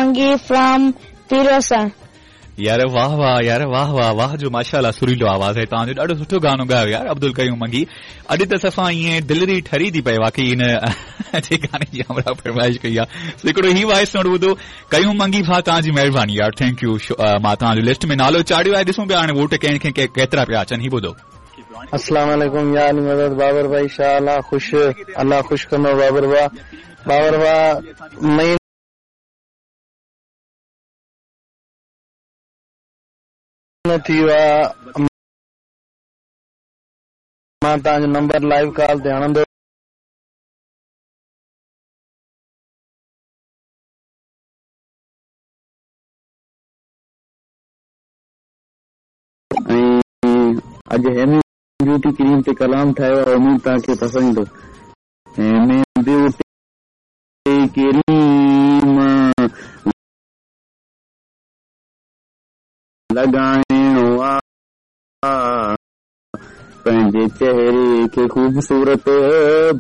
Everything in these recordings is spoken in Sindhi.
Mangi from Pirwasar. يار واه واه يار واه واه واه جو ماشاءالله سريلو آواز آهي توهان جو ڏاڍو سٺو گانو ڳايو يار عبدالقيوم منگي اڄ ته صفا ائين دلڙي ٺري ٿي پئي واقعي هن جي گاني جي همراهه فرمائش ڪئي آهي سو هڪڙو هي وائس نوٽ ٻڌو قيوم منگي ڀاء توهان جي مهرباني يار thank you مان توهان جو لسٽ ۾ نالو چاڙهيو آهي ڏسون پيا هاڻي ووٽ ڪنهن کي ڪيترا پيا اچن هي ٻڌو. السلام عليڪم يا علي مدد بابر ڀائي شاھ الله خوش الله خوش ڪندو بابر ڀاء بابر ڀاء مهينو ٿي ويو آ مان توهان جو نمبر لائيو ڪال تي هڻندو ۽ اڄ هيمي بيوٽي ڪريم تي ڪلام ٺاهيو آهي اميد توهان کي پسند ايندو هيمي بيوٽي ڪريم لڳائڻو آ پنهنجي چهري کي خوبصورت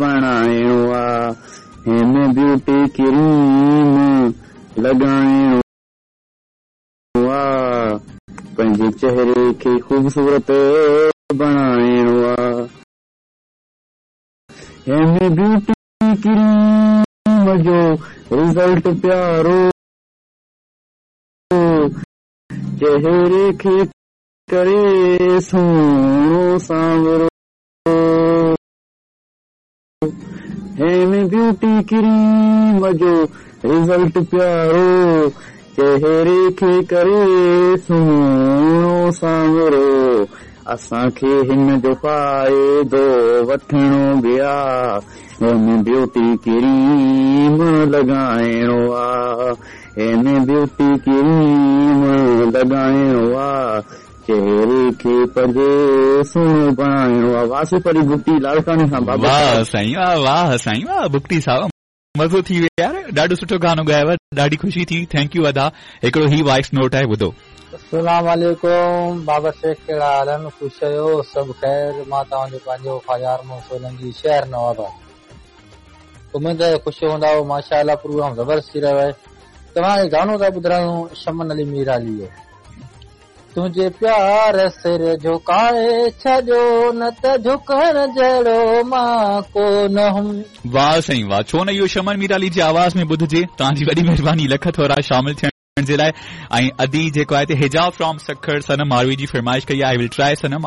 بڻائڻو آ هيمي بيوٽي ڪريم لڳائڻو آ پنهنجي چهري کي خوبصورت بڻائڻو آ هيمي بيوٽي ڪريم جو رزلٽ پيارو چهري کي ڪري سهڻو سانورو هيمي بيوٽي ڪريم جو رزلٽ پيارو چهري کي ڪري سهڻو سانورو اسان کي هن جو فائدو وٺڻو به آ هيمي بيوٽي ڪريم لڳائڻو آ هيمي بيوٽي ڪريم لڳائڻو آ چهري کي پنهنجي سهڻو بڻائڻو آ واصف علي بگٽي لاڙڪاڻي کان بابر واه صاحب. سائين واه واه سائين واه بگٽي صاحب مزو ٿي ويو يار ڏاڍو سٺو گانو ڳايو ڏاڍي خوشي ٿي thank you ادا هڪڙو هي وائس نوٽ آهي ٻڌو. السلام عليڪم بابر شيخ ڪهڙا حال آهن خوش آهيو سڀ خير مان توهان جو پنهنجو خواجه ارمن سولنگي شهر نواب آباد اميد آهي خوش هوندائو ماشاء الله پروگرام زبردست ٿي رهيو آهي توهان کي گانو ٿا ٻڌرايون شمن علي ميرالي جو تنهنجي پيار سر جهڪائي ڇڏيو نه ته جهڪڻ جهڙو مان ڪو نه هئم. واه سائين واه ڇو نه اهو شمن ميرالي جي آواز ۾ ٻڌجي توهان جي وڏي مهرباني لک ٿورا شامل ٿيڻ جي لاء ۽ ادي جيڪو آهي ته حجاب فرام سکر صنم ماروي جي فرمائش ڪئي آهي I will try Sanam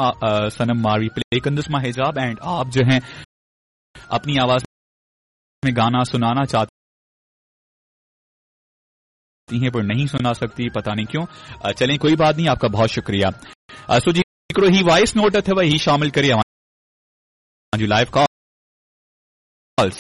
Sanam Marvi پلي ڪندس مان حجاب اينڊ آپ جو هين اپني آواز ۾ گانا سنانا چاهتي हैं पर नहीं सुना सकती पता नहीं क्यों चलें कोई बात नहीं आपका बहुत शुक्रिया सो जी हिकिड़ो ही वॉइस नोट अथव ही शामिल करे अव्हां लाइव कॉल्स।